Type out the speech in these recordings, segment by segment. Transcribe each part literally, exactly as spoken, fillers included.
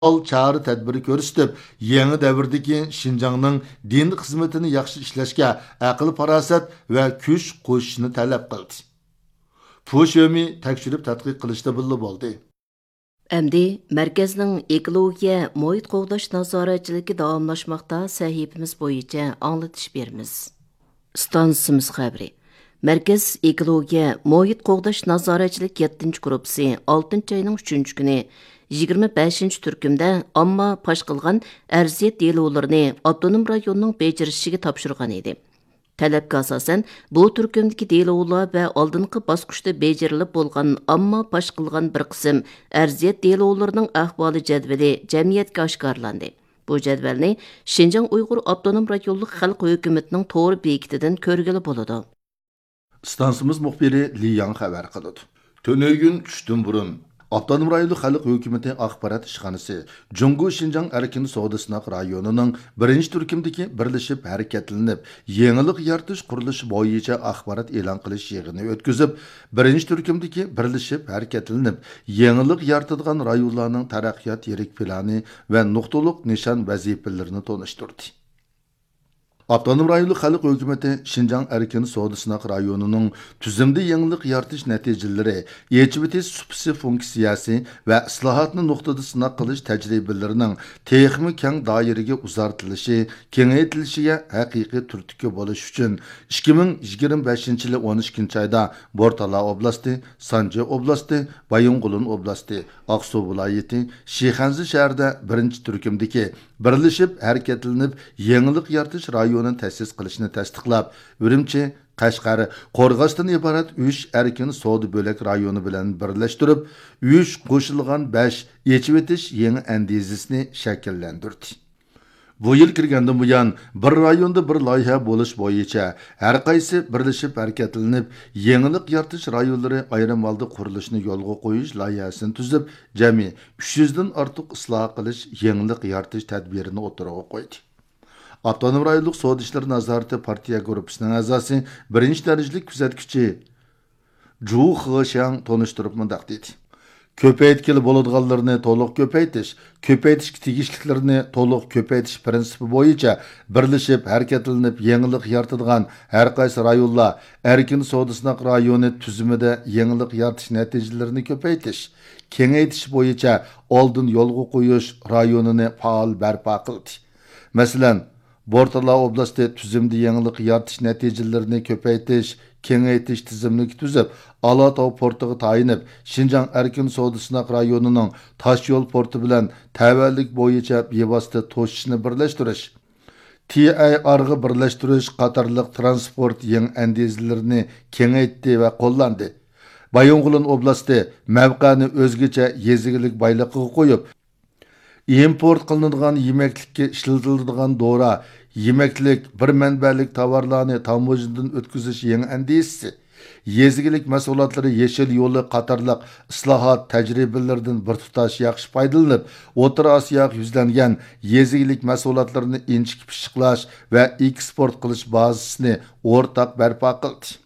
پائال چارە-تەدبىر كۆرسىتىپ، يېڭى دەۋردىكى شىنجاڭنىڭ دىن خىزمىتىنى ياخشى ئىشلەشكە ئەقىل-پاراسەت ۋە كۈچ قوشۇشنى تەلەپ قىلدى. پۇ شۆمى تەكشۈرۈپ تەتقىق قىلىشتا بىللە بولدى. ئەمدى مەركەزنىڭ ئېكولوگىيە، مۇھىت قوغداش نازارەتچىلىكى داۋاملاشماقتا سەھىپىمىز بويىچە ئاڭلىتىش بېرىمىز. ئىستانسىمىز خەۋىرى. مەركەز ئېكولوگىيە، مۇھىت قوغداش نازارەتچىلىك يەتتىنچى گۇرۇپپىسى ئالتىنچى ئاينىڭ ئۈچىنچى كۈنى يىگىرمە بەشىنچى تۈركۈمدە ئامما پاش قىلغان ئەرزىيەت دېلولىرىنى ئاپتونوم رايوننىڭ بېجىرىشىگە تاپشۇرغان ئىدى. تەلەپكە ئاساسەن، بۇ تۈركۈمدىكى دېلولار ۋە ئالدىنقى باسقۇچتا بېجىرىلىپ بولغان ئامما پاش قىلغان بىر قىسىم ئەرزىيەت دېلولىرىنىڭ ئەھۋالى جەدۋىلى جەمئىيەتكە ئاشكارىلاندى. بۇ جەدۋەلنى شىنجاڭ ئۇيغۇر ئاپتونوم رايونلۇق خەلق ھۆكۈمىتىنىڭ تور بېكىتىدىن كۆرگىلى بولىدۇ. ئىستانسىمىز مۇخبىرى لى ياڭ خەۋەر قىلىدۇ. تۈنۈگۈن چۈشتىن بۇرۇن، ئاپتونوم رايونلۇق خەلق ھۆكۈمىتى ئاخبارات ئىشخانىسى جۇڭگو شىنجاڭ ئەركىن سودا سىناق رايونىنىڭ بىرىنچى تۈركۈمدىكى بىرلىشىپ ھەرىكەتلىنىپ، يېڭىلىق يارىتىش قۇرۇلۇشى بويىچە ئاخبارات ئېلان قىلىش يىغىنى ئۆتكۈزۈپ، بىرىنچى تۈركۈمدىكى بىرلىشىپ ھەرىكەتلىنىپ، يېڭىلىق يارىتىدىغان رايونلارنىڭ تەرەققىيات يىرىك پىلانى ۋە نۇقتىلىق نىشان ۋەزىپىلىرىنى تونۇشتۇردى. ئاپتونوم رايونلۇق خەلق ھۆكۈمىتى شىنجاڭ ئەركىن سودا سىناق رايونىنىڭ تۈزۈمدە يېڭىلىق يارىتىش نەتىجىلىرى، ئېچىۋېتىش سۇپىسى فۇنكسىيەسى ۋە ئىسلاھاتنى نۇقتىدا سىناق قىلىش تەجرىبىلىرىنىڭ تېخىمۇ كەڭ دائىرىگە ئۇزارتىلىشى، كېڭەيتىلىشىگە ھەقىقىي تۈرتكە بولۇش ئۈچۈن، ئىككى مىڭ يىگىرمە بەشىنچى يىلى ئون ئىككىنچى ئايدا بورتالا ئوبلاستى، سانجى ئوبلاستى، بايىنغولىن ئوبلاستى، ئاقسۇ ۋىلايىتى، شىخەنزە شەھىرىدە بىرىنچى تۈركۈمدىكى بىرلىشىپ ھەرىكەتلىنىپ يېڭىلىق يارىتىش رايونىنى تەسىس قىلىشنى تەستىقلاپ، ئۈرۈمچى، قەشقەر، قورغاستىن ئىبارەت ئۈچ ئەركىن سودا بۆلەك رايونى بىلەن بىرلەشتۈرۈپ، ئۈچ قوشۇلغان بەش ئېچىۋېتىش يېڭى ئەندىزىسىنى شەكىللەندۈردى. بۇ يىل كىرگەندىن بۇيان، بىر رايوندا بىر لايىھە بولۇش بويىچە ھەرقايسى بىرلىشىپ ھەرىكەتلىنىپ يېڭىلىق يارىتىش رايونلىرى ئايرىم ھالدا قۇرۇلۇشىنى يولغا قويۇش لايىھەسىنى تۈزۈپ، جەمئىي ئۈچ يۈزدىن ئارتۇق ئىسلاھ قىلىش، يېڭىلىق يارىتىش تەدبىرىنى ئوتتۇرىغا قويدى. ئاپتونوم رايونلۇق سودا ئىشلىرى نازارىتى پارتىيە گۇرۇپپىسىنىڭ ئەزاسى، بىرىنچى دەرىجىلىك كۆزەتكۈچى جۇ خېشياڭ تونۇشتۇرۇپ مۇنداق دېدى: كۆپەيتكىلى بولىدىغانلىرىنى تولۇق كۆپەيتىش، كۆپەيتىشكە تېگىشلىكلىرىنى تولۇق كۆپەيتىش پىرىنسىپى بويىچە بىرلىشىپ ھەرىكەتلىنىپ يېڭىلىق يارىتىدىغان ھەرقايسى رايونلار ئەركىن سودا سىناق رايونى تۈزۈمىدە يېڭىلىق يارىتىش نەتىجىلىرىنى كۆپەيتىش، كېڭەيتىش بويىچە ئالدىن يولغا قويۇش رايونىنى پائال بەرپا قىلدى. مەسىلەن، بورتالا ئوبلاستى تۈزۈمدە يېڭىلىق يارىتىش نەتىجىلىرىنى كۆپەيتىش، كېڭەيتىش تىزىملىكى تۈزۈپ، ئالاتاۋ پورتىغا تايىنىپ، شىنجاڭ ئەركىن سودا سىناق رايونىنىڭ تاشيول پورتى بىلەن تەۋەلىك بويىچە بىۋاسىتە توشۇشنى بىرلەشتۈرۈش، تىئەيئارغا بىرلەشتۈرۈش قاتارلىق تىرانسپورت يېڭى ئەندىزىلىرىنى كېڭەيتتى ۋە قوللاندى. بايىنغولىن ئوبلاستى مەۋقەنى ئۆزگىچە يېزا ئىگىلىك بايلىقىغا قويۇپ، ئىمپورت قىلىنىدىغان يېمەكلىككە ئىشلىتىلىدىغان دورا، يېمەكلىك، بىر مەنبەلىك تاۋارلارنى تاموژنىدىن ئۆتكۈزۈش يېڭى ئەندىزىسى، يېزا ئىگىلىك مەھسۇلاتلىرى يېشىل يولى قاتارلىق ئىسلاھات تەجرىبىلىرىدىن بىر تۇتاش ياخشى پايدىلىنىپ، ئوتتۇرا ئاسىياغا يۈزلەنگەن يېزا ئىگىلىك مەھسۇلاتلىرىنى ئىنچىكە پىششىقلاش ۋە ئېكسپورت قىلىش بازىسىنى ئورتاق بەرپا قىلدى.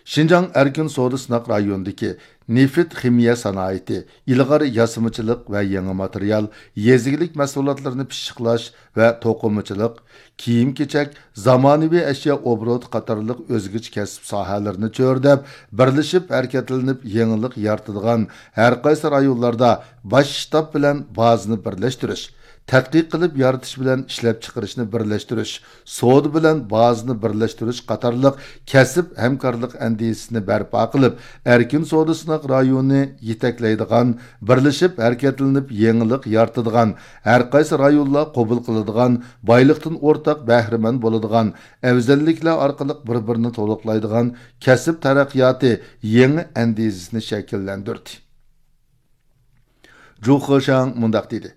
شىنجاڭ ئەركىن سودا سىناق رايونىدىكى نېفىت خىمىيە سانائىتى، ئىلغار ياسىمىچىلىق ۋە يېڭى ماتېرىيال، يېزا ئىگىلىك مەھسۇلاتلىرىنى پىششىقلاش ۋە توقۇمىچىلىق، كىيىم-كېچەك، زامانىۋى ئەشيا ئوبوروتى قاتارلىق ئۆزگىچە كەسىپ ساھەلىرىنى چۆرىدەپ، بىرلىشىپ ھەرىكەتلىنىپ يېڭىلىق يارىتىدىغان ھەرقايسى رايونلاردا باش شتاب بىلەن بازىنى بىرلەشتۈرۈش، تەتقىق قىلىپ يارىتىش بىلەن ئىشلەپچىقىرىشنى بىرلەشتۈرۈش، سودا بىلەن بازىنى بىرلەشتۈرۈش قاتارلىق كەسىپ ھەمكارلىق ئەندىزىسىنى بەرپا قىلىپ، ئەركىن سودا سىناق رايونىنى يېتەكلەيدىغان، بىرلىشىپ ھەرىكەتلىنىپ يېڭىلىق يارىتىدىغان، ھەرقايسى رايونلار قوبۇل قىلىدىغان، بايلىقتىن ئورتاق بەھرىمەن بولىدىغان، ئەۋزەللىكلەر ئارقىلىق بىر-بىرىنى تولۇقلايدىغان كەسىپ تەرەققىياتى يېڭى ئەندىزىسىنى شەكىللەندۈردى. جۇ خېشياڭ مۇنداق دېدى: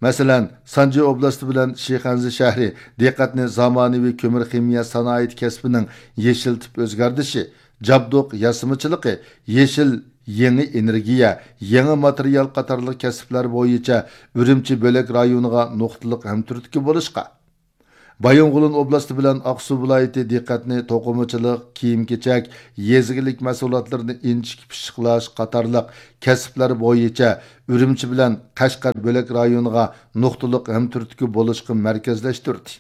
مەسىلەن، سانجى ئوبلاستى بىلەن شىخەنزە شەھىرى دىققەتنى زامانىۋى كۆمۈر خىمىيە سانائىتى كەسپىنىڭ يېشىل تىپ ئۆزگەردىشى، جابدۇق ياسىمىچىلىقى، يېشىل يېڭى ئېنېرگىيە، يېڭى ماتېرىيال قاتارلىق كەسىپلەر بويىچە ئۈرۈمچى بۆلەك رايونىغا نۇقتىلىق ھەمتۈرتكە بولۇشقا، بايىنغولىن ئوبلاستى بىلەن ئاقسۇ ۋىلايىتى دىققەتنى توقۇمىچىلىق، كىيىم-كېچەك، يېزا ئىگىلىك مەھسۇلاتلىرىنى ئىنچىكە پىششىقلاش قاتارلىق كەسىپلەر بويىچە ئۈرۈمچى بىلەن قەشقەر بۆلەك رايونىغا نۇقتىلىق ھەمتۈرتكە بولۇشقا مەركەزلەشتۈردى.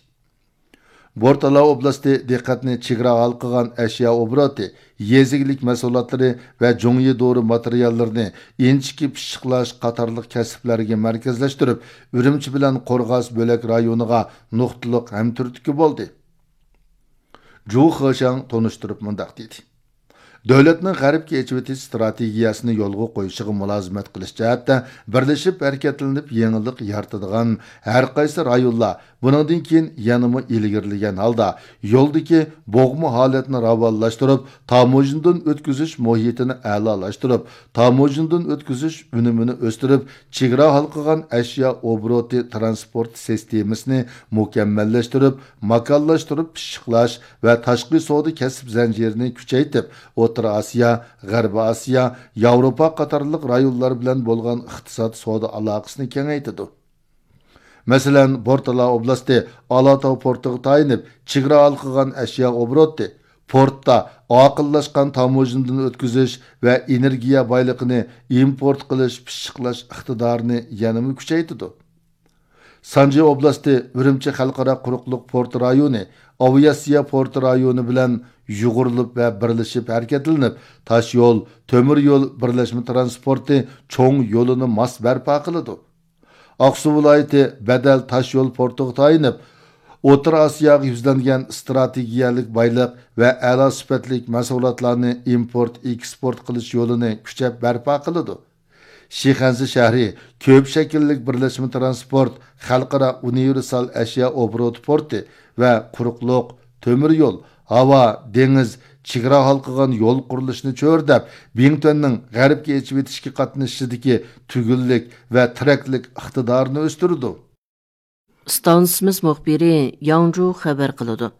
بورتالا ئوبلاستى دىققەتنى چېگرا ھالقىغان ئەشيا ئوبوروتى، يېزا ئىگىلىك مەھسۇلاتلىرى ۋە جۇڭيى دورا ماتېرىياللىرىنى ئىنچىكە پىششىقلاش قاتارلىق كەسىپلەرگە مەركەزلەشتۈرۈپ، ئۈرۈمچى بىلەن قورغاس بۆلەك رايونىغا نۇقتىلىق ھەمتۈرتكە بولدى. جۇ خېشاڭ تونۇشتۇرۇپ مۇنداق دېدى: دۆلەتنىڭ غەربكە ئېچىۋېتىش ئىستراتېگىيەسىنى يولغا قويۇشىغا مۇلازىمەت قىلىش جەھەتتە بىرلىشىپ ھەرىكەتلىنىپ يېڭىلىق يارىتىدىغان ھەرقايسى رايونلار بۇنىڭدىن كېيىن يەنىمۇ ئىلگىرىلىگەن ھالدا يولدىكى بوغما ھالەتنى راۋانلاشتۇرۇپ، تاموژنىدىن ئۆتكۈزۈش مۇھىتىنى ئەلالاشتۇرۇپ، تاموژنىدىن ئۆتكۈزۈش ئۈنۈمىنى ئۆستۈرۈپ، چېگرا ھالقىغان ئەشيا ئوبوروتى تىرانسپورت سىستېمىسىنى مۇكەممەللەشتۈرۈپ، ماكانلاشتۇرۇپ پىششىقلاش ۋە تاشقى سودا كەسىپ زەنجىرىنى كۈچەيتىپ، ئوتتۇرا ئاسىيا، غەربىي ئاسىيا، ياۋروپا قاتارلىق رايونلار بىلەن بولغان ئىقتىساد سودا ئالاقىسىنى كېڭەيتىدۇ. مەسىلەن، بورتالا ئوبلاستى ئالاتاۋ پورتىغا تايىنىپ، چېگرا ھالقىغان ئەشيا ئوبوروتى، پورتتا ئاقىللاشقان تاموژنىدىن ئۆتكۈزۈش ۋە ئېنېرگىيە بايلىقىنى ئىمپورت قىلىش، پىششىقلاش ئىقتىدارىنى يەنىمۇ كۈچەيتىدۇ. سانجى ئوبلاستى ئۈرۈمچى خەلقئارا قۇرۇقلۇق پورت رايونى، ئاۋىئاتسىيە پورت رايونى بىلەن يۇغۇرۇلۇپ ۋە بىرلىشىپ ھەرىكەتلىنىپ، تاش يول، تۆمۈر يول بىرلەشمە تىرانسپورتى چوڭ يولىنى ماس بەرپا قىلىدۇ. ئاقسۇ ۋىلايىتى بەدەل تاش يول پورتىغا تايىنىپ، ئوتتۇرا ئاسىياغا يۈزلەنگەن ئىستراتېگىيەلىك بايلىق ۋە ئەلا سۈپەتلىك مەھسۇلاتلارنى ئىمپورت، ئېكسپورت قىلىش يولىنى كۈچەپ بەرپا قىلىدۇ. شىخەنزە شەھىرى كۆپ شەكىللىك بىرلەشمە تىرانسپورت خەلقئارا ئۇنىۋېرسال ئەشيا ئوبوروتى پورتى ۋە قۇرۇقلۇق، تۆمۈر يول، ھاۋا، دېڭىز، چېگرا ھالقىغان يول قۇرۇلۇشىنى چۆرىدەپ، بىڭتۈەننىڭ غەربكە ئېچىۋېتىشكە قاتنىشىشىدىكى تۈگۈنلۈك ۋە تىرەكلىك ئىقتىدارىنى ئۆستۈرىدۇ. ئىستانسىمىز مۇخبىرى ياڭجۇ خەۋەر قىلىدۇ.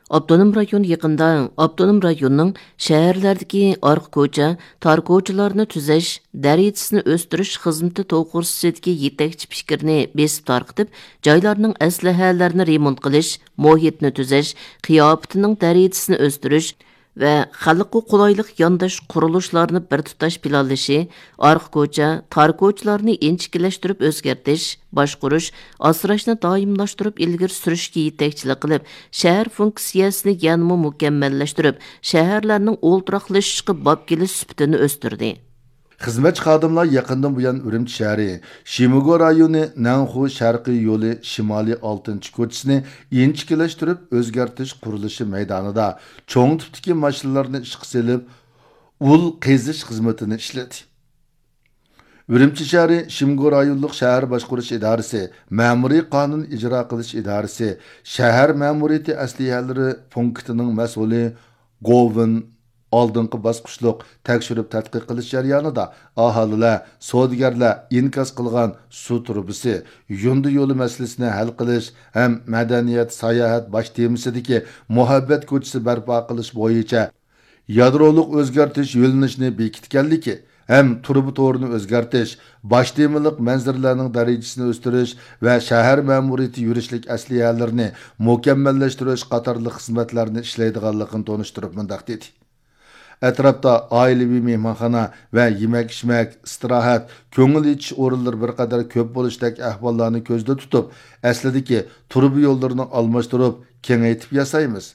ئاپتونوم رايون يېقىندا ئاپتونوم رايوننىڭ شەھەرلەردىكى ئارقا كوچا، تار كوچىلارنى تۈزەش، دەرىجىسىنى ئۆستۈرۈش خىزمىتى توغرىسىدىكى يېتەكچى پىكىرنى بېسىپ تارقىتىپ، جايلارنىڭ ئەسلىھەلەرنى رېمونت قىلىش، مۇھىتنى تۈزەش، قىياپىتىنىڭ دەرىجىسىنى ئۆستۈرۈش ۋە خەلققە قولايلىق يانداش قۇرۇلۇشلارنى بىر تۇتاش پىلانلىشى، ئارقا كوچا، تار كوچىلارنى ئىنچىكىلەشتۈرۈپ ئۆزگەرتىش، باشقۇرۇش، ئاسراشنى دائىملاشتۇرۇپ ئىلگىرى سۈرۈشكە يېتەكچىلىك قىلىپ، شەھەر فۇنكسىيەسىنى يەنىمۇ مۇكەممەللەشتۈرۈپ، شەھەرلەرنىڭ ئولتۇراقلىشىشقا باب كېلىش سۈپىتىنى ئۆستۈردى. خىزمەتچى خادىملار يېقىندىن بۇيان ئۈرۈمچى شەھىرى شىموگو رايونى نەنخۇ شەرقىي يولى شىمالىي ئالتىنچى كوچىسىنى ئىنچىكىلەشتۈرۈپ ئۆزگەرتىش قۇرۇلۇشى مەيدانىدا چوڭ تىپتىكى ماشىنىلارنى ئىشقا سېلىپ، ئۇل قېزىش خىزمىتىنى ئىشلىدى. ئۈرۈمچى شەھىرى شىمگو رايونلۇق شەھەر باشقۇرۇش ئىدارىسى مەمۇرىي قانۇن ئىجرا قىلىش ئىدارىسى شەھەر مەمۇرىيىتى ئەسلىھەلىرى پونكىتىنىڭ مەسئۇلى گوۋېن ئالدىنقى باسقۇچلۇق تەكشۈرۈپ تەتقىق قىلىش جەريانىدا ئاھالىلەر، سودىگەرلەر ئىنكاس قىلغان سۇ تۇرۇبىسى، يۇندى يولى مەسىلىسىنى ھەل قىلىش ھەم مەدەنىيەت ساياھەت باش تېمىسىدىكى مۇھەببەت كوچىسى بەرپا قىلىش بويىچە يادرولۇق ئۆزگەرتىش يۆنىلىشىنى بېكىتكەنلىكى ھەم تۇرۇبا تورىنى ئۆزگەرتىش، باش تېمىلىق مەنزىرىلەرنىڭ دەرىجىسىنى ئۆستۈرۈش ۋە شەھەر مەمۇرىيىتى يۈرۈشلۈك ئەسلىھەلىرىنى مۇكەممەللەشتۈرۈش قاتارلىق خىزمەتلەرنى ئىشلەيدىغانلىقىنى تونۇشتۇرۇپ مۇنداق دېدى: ئەتراپتا ئائىلىۋى مېھمانخانا ۋە يېمەك-ئىچمەك، ئىستىراھەت، كۆڭۈل ئېچىش ئورۇنلىرى بىر قەدەر كۆپ بولۇشتەك ئەھۋاللارنى كۆزدە تۇتۇپ، ئەسلىدىكى تۇرۇبا يوللىرىنى ئالماشتۇرۇپ، كېڭەيتىپ ياسايمىز.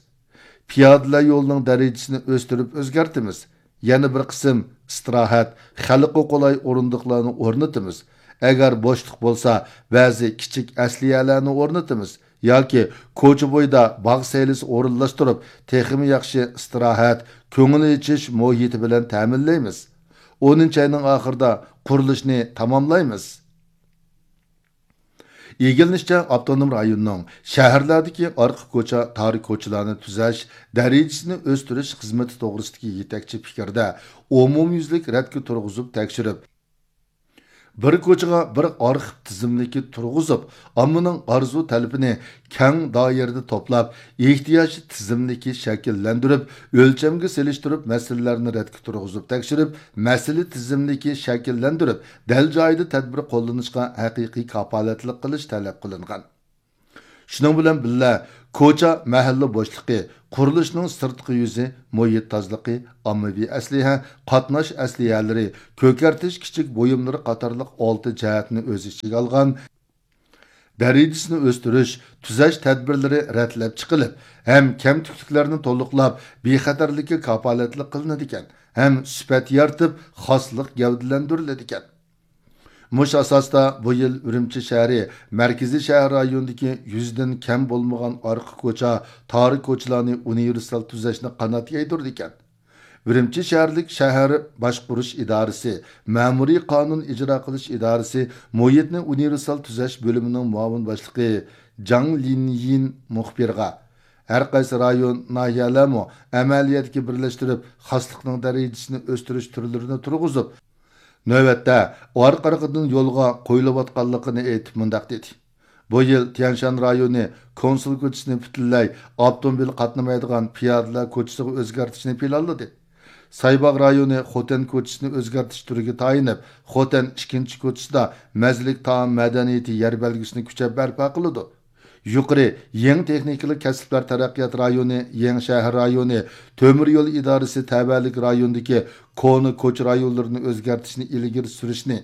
پىيادىلەر يولىنىڭ دەرىجىسىنى ئۆستۈرۈپ ئۆزگەرتىمىز. يەنە بىر قىسىم ئىستىراھەت، خەلققە قولاي ئورۇندۇقلارنى ئورنىتىمىز. ئەگەر بوشلۇق بولسا، بەزى كىچىك ئەسلىھەلەرنى ئورنىتىمىز ياكى كوچا بويىدا باغ سەيلىسى ئورۇنلاشتۇرۇپ، تېخىمۇ ياخشى ئىستىراھەت، كۆڭۈل ئېچىش مۇھىتى بىلەن تەمىنلەيمىز. ئونىنچى ئاينىڭ ئاخىرىدا قۇرۇلۇشنى تاماملايمىز. ئىگىلىنىشىچە، ئاپتونوم رايوننىڭ شەھەرلەردىكى ئارقا كوچا، تار كوچىلارنى تۈزەش، دەرىجىسىنى ئۆستۈرۈش خىزمىتى توغرىسىدىكى يېتەكچى پىكىردە ئومۇميۈزلۈك رەتكە تۇرغۇزۇپ تەكشۈرۈپ، بىر كوچىغا بىر ئارخىپ تىزىملىكى تۇرغۇزۇپ، ئاممىنىڭ ئارزۇ تەلىپىنى كەڭ دائىرىدە توپلاپ، ئېھتىياج تىزىملىكى شەكىللەندۈرۈپ، ئۆلچەمگە سېلىشتۇرۇپ، مەسىلىلەرنى رەتكە تۇرغۇزۇپ تەكشۈرۈپ، مەسىلە تىزىملىكى شەكىللەندۈرۈپ، دەل جايىدا تەدبىر قوللىنىشقا ھەقىقىي كاپالەتلىك قىلىش تەلەپ قىلىنغان. شۇنىڭ بىلەن بىللە، كوچا، مەھەللە بوشلۇقى، قۇرۇلۇشنىڭ سىرتقى يۈزى، مۇھىت تازىلىقى، ئاممىۋى ئەسلىھە، قاتناش ئەسلىھەلىرى، كۆكەرتىش كىچىك بۇيۇملىرى قاتارلىق ئالتە جەھەتنى ئۆز ئىچىگە ئالغان دەرىجىسىنى ئۆستۈرۈش، تۈزەش تەدبىرلىرى رەتلەپ چىقىلىپ، ھەم كەمتۈكلۈكلەرنى تولۇقلاپ، بىخەتەرلىككە كاپالەتلىك قىلىنىدىكەن، ھەم سۈپەت يارىتىپ، خاسلىق گەۋدىلەندۈرۈلىدىكەن. مۇشۇ ئاساستا بۇ يىل ئۈرۈمچى شەھىرى مەركىزىي شەھەر رايونىدىكى يۈزدىن كەم بولمىغان ئارقا كوچا، تار كوچىلارنى ئۇنىۋېرسال تۈزەشنى قانات يايدۇرىدىكەن. ئۈرۈمچى شەھەرلىك شەھەر باشقۇرۇش ئىدارىسى مەمۇرىي قانۇن ئىجرا قىلىش ئىدارىسى مۇھىتنى ئۇنىۋېرسال تۈزەش بۆلۈمىنىڭ مۇئاۋىن باشلىقى جاڭ لىنيىن مۇخبىرغا، ھەر قايسى رايون، ناھىيەلەرمۇ ئەمەلىيەتكە بىرلەشتۈرۈپ، خاسلىقنىڭ دەرىجىسىنى ئۆستۈرۈش تۈرلىرىنى تۇرغۇزۇپ، نۆۋەتتە ئارقا-ئارقىدىن يولغا قويۇلۇۋاتقانلىقىنى ئېيتىپ مۇنداق دېدى: بۇ يىل تيەنشان رايونى كونسۇل كوچىسىنى پۈتۈنلەي ئاپتوموبىل قاتنىمايدىغان پىيادىلەر كوچىسىغا ئۆزگەرتىشنى پىلانلىدى. سايباغ رايونى خوتەن كوچىسىنى ئۆزگەرتىش تۈرىگە تايىنىپ، خوتەن ئىككىنچى كوچىسىدا مەززىلىك تائام مەدەنىيىتى يەر بەلگىسىنى كۈچەپ بەرپا قىلىدۇ. يۇقىرى يېڭى تېخنىكىلىق كەسىپلەر تەرەققىيات رايونى، يېڭى شەھەر رايونى، تۆمۈر يول ئىدارىسى تەۋەلىك رايونىدىكى كونا كوچا رايونلىرىنى ئۆزگەرتىشنى ئىلگىرى سۈرۈشنى،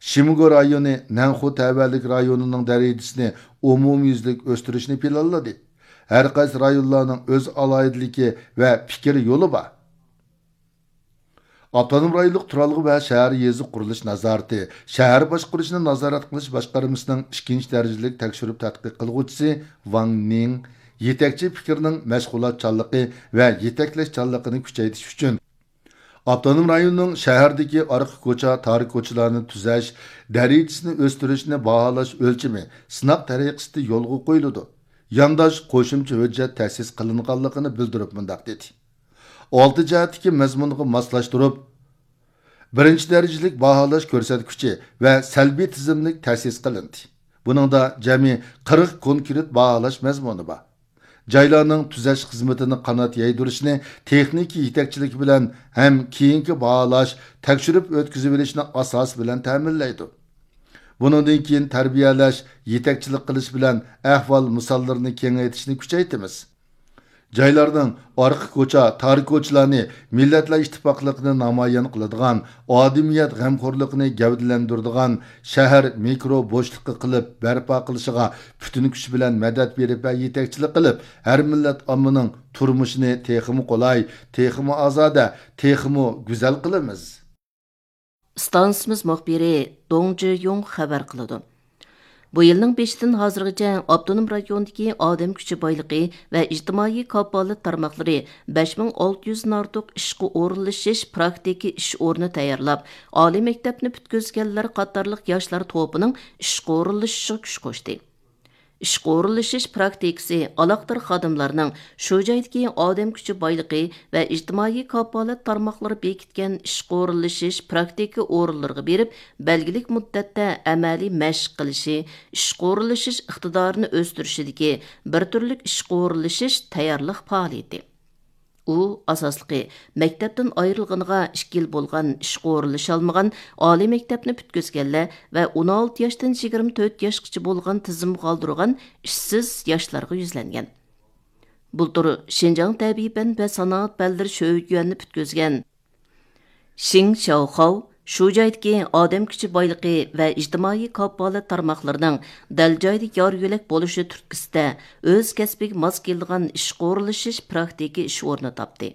شىمگو رايونى نەنخۇ تەۋەلىك رايونىنىڭ دەرىجىسىنى ئومۇميۈزلۈك ئۆستۈرۈشنى پىلانلىدى. ھەر قايسى رايونلارنىڭ ئۆز ئالاھىدىلىكى ۋە پىكىر يولى بار. ئاپتونوم رايونلۇق تۇرالغۇ ۋە شەھەر يېزا قۇرۇلۇش نازارىتى، شەھەر باشقۇرۇشنى نازارەت قىلىش باشقارمىسىنىڭ ئىككىنچى دەرىجىلىك تەكشۈرۈپ تەتقىق قىلغۇچىسى ۋاڭ نىڭ يېتەكچى پىكىرنىڭ مەشغۇلاتچانلىقى ۋە يېتەكلەشچانلىقىنى كۈچەيتىش ئۈچۈن، ئاپتونوم رايوننىڭ شەھەردىكى ئارقا كوچا، تار كوچىلارنى تۈزەش، دەرىجىسىنى ئۆستۈرۈشنى باھالاش ئۆلچىمى سىناق تەرىقىسىدە يولغا قويۇلىدۇ. يانداش قوشۇمچە ھۆججەت تەسىس قىلىنغانلىقىنى بىلدۈرۈپ مۇنداق دېدى: ئالتە جەھەتتىكى مەزمۇنغا ماسلاشتۇرۇپ، بىرىنچى دەرىجىلىك باھالاش كۆرسەتكۈچى ۋە سەلبىي تىزىملىك تەسىس قىلىندى. بۇنىڭدا جەمئىي قىرىق كونكرېت باھالاش مەزمۇنى بار. جايلارنىڭ تۈزەش خىزمىتىنى قانات يايدۇرۇشنى تېخنىكا يېتەكچىلىكى بىلەن ھەم كېيىنكى باھالاش، تەكشۈرۈپ ئۆتكۈزۈۋېلىشنى ئاساس بىلەن تەمىنلەيدۇ. بۇنىڭدىن كېيىن تەربىيەلەش، يېتەكچىلىك قىلىش بىلەن ئەھۋال مىساللىرىنى كېڭەيتىشنى كۈچەيتىمىز. جايلارنىڭ ئارقا كوچا، تار كوچىلارنى مىللەتلەر ئىتتىپاقلىقىنى نامايان قىلىدىغان، ئادىمىيەت غەمخورلۇقىنى گەۋدىلەندۈرىدىغان شەھەر مىكرو بوشلۇقى قىلىپ بەرپا قىلىشىغا پۈتۈن كۈچ بىلەن مەدەت بېرىپ ۋە يېتەكچىلىك قىلىپ، ھەر مىللەت ئاممىنىڭ تۇرمۇشىنى تېخىمۇ قولاي، تېخىمۇ ئازادە، تېخىمۇ گۈزەل قىلىمىز. ئىستانسىمىز مۇخبىرى دۇڭ جىيۇڭ خەۋەر قىلىدۇ. بۇ يىلنىڭ بېشىدىن ھازىرغىچە ئاپتونوم رايوندىكى ئادەم كۈچى بايلىقى ۋە ئىجتىمائىي كاپالەت تارماقلىرى بەش مىڭ ئالتە يۈزدىن ئارتۇق ئىشقا ئورۇنلىشىش پراكتىكا ئىش ئورنى تەييارلاپ، ئالىي مەكتەپنى پۈتكۈزگەنلەر قاتارلىق ياشلار توپىنىڭ ئىشقا ئورۇنلىشىشىغا كۈچ قوشتى. ئىشقا ئورۇنلىشىش پراكتىكىسى ئالاقىدار خادىملارنىڭ شۇ جايدىكى ئادەم كۈچى بايلىقى ۋە ئىجتىمائىي كاپالەت تارماقلىرى بېكىتكەن ئىشقا ئورۇنلىشىش پراكتىكا ئورۇنلىرىغا بېرىپ، بەلگىلىك مۇددەتتە ئەمەلىي مەشىق قىلىشى، ئىشقا ئورۇنلىشىش ئىقتىدارىنى ئۆستۈرۈشىدىكى بىر تۈرلۈك ئىشقا ئورۇنلىشىش تەييارلىق پائالىيىتى. ئۇ، ئاساسلىقى، مەكتەپتىن ئايرىلغىنىغا ئىككى يىل بولغان، ئىشقا ئورۇنلىشالمىغان، ئالىي مەكتەپنى پۈتكۈزگەنلەر ۋە ئون ئالتە ياشتىن يىگىرمە تۆت ياشقىچە بولغان تىزىمغا ئالدۇرغان ئىشسىز ياشلارغا يۈزلەنگەن. بۇلتۇر شىنجاڭ تەبىئىي پەن ۋە سانائەت پەنلىرى شۆيۈەننى پۈتكۈزگەن شىڭ شياۋخاۋ شۇ جايدىكى ئادەم كۈچى بايلىقى ۋە ئىجتىمائىي كاپالەت تارماقلىرىنىڭ دەل جايىدا يار يۆلەك بولۇشى تۈرتكىسىدە ئۆز كەسپىگە ماس كېلىدىغان ئىشقا ئورۇنلىشىش پراكتىكا ئىش ئورنى تاپتى.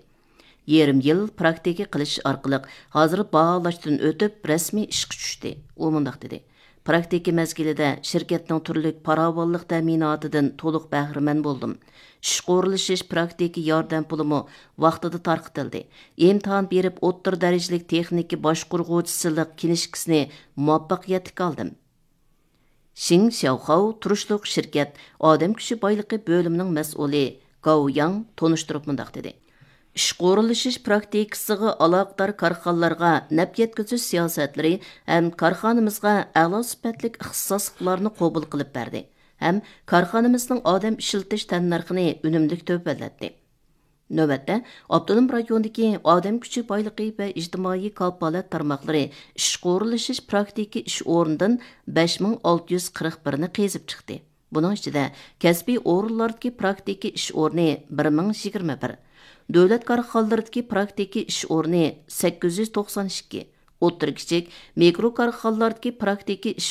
يېرىم يىل پراكتىكا قىلىش ئارقىلىق ھازىر باھالاشتىن ئۆتۈپ، رەسمىي ئىشقا چۈشتى. ئۇ مۇنداق دېدى: پراكتىكا مەزگىلىدە شىركەتنىڭ تۈرلۈك پاراۋانلىق تەمىناتىدىن تولۇق بەھرىمەن بولدۇم. ئىشقا ئورۇنلىشىش پراكتىكا ياردەم پۇلىمۇ ۋاقتىدا تارقىتىلدى. ئىمتىھان بېرىپ، ئوتتۇرا دەرىجىلىك تېخنىكا باشقۇرغۇچىسىلىق كىنىشكىسىنى مۇۋەپپەقىيەتلىك ئالدىم. شىڭ شياۋخاۋ تۇرۇشلۇق شىركەت ئادەم كۈچى بايلىقى بۆلۈمىنىڭ مەسئۇلى گاۋ ياڭ تونۇشتۇرۇپ مۇنداق دېدى: ئىشقا ئورۇنلىشىش پراكتىكىسىغا ئالاقىدار كارخانىلارغا نەپ يەتكۈزۈش سىياسەتلىرى ھەم كارخانىمىزغا ئەلا سۈپەتلىك ئىختىساسلىقلارنى قوبۇل قىلىپ بەردى ھەم كارخانىمىزنىڭ ئادەم ئىشلىتىش تەننەرخىنى ئۈنۈملۈك تۆۋەنلەتتى. نۆۋەتتە، ئاپتونوم رايوندىكى ئادەم كۈچى بايلىقى ۋە ئىجتىمائىي كاپالەت تارماقلىرى ئىشقا ئورۇنلىشىش پراكتىكا ئىش ئورنىدىن بەش مىڭ ئالتە يۈز قىرىق بىرنى قېزىپ چىقتى. بۇنىڭ ئىچىدە كەسپىي ئورۇنلاردىكى پراكتىكا ئىش ئورنى بىر مىڭ يىگىرمە بىر، دۆلەت كارخانىلىرىدىكى پراكتىكا ئىش ئورنى سەككىز يۈز توقسان ئىككى، ئوتتۇرا، كىچىك، مىكرو كارخانىلاردىكى پراكتىكا ئىش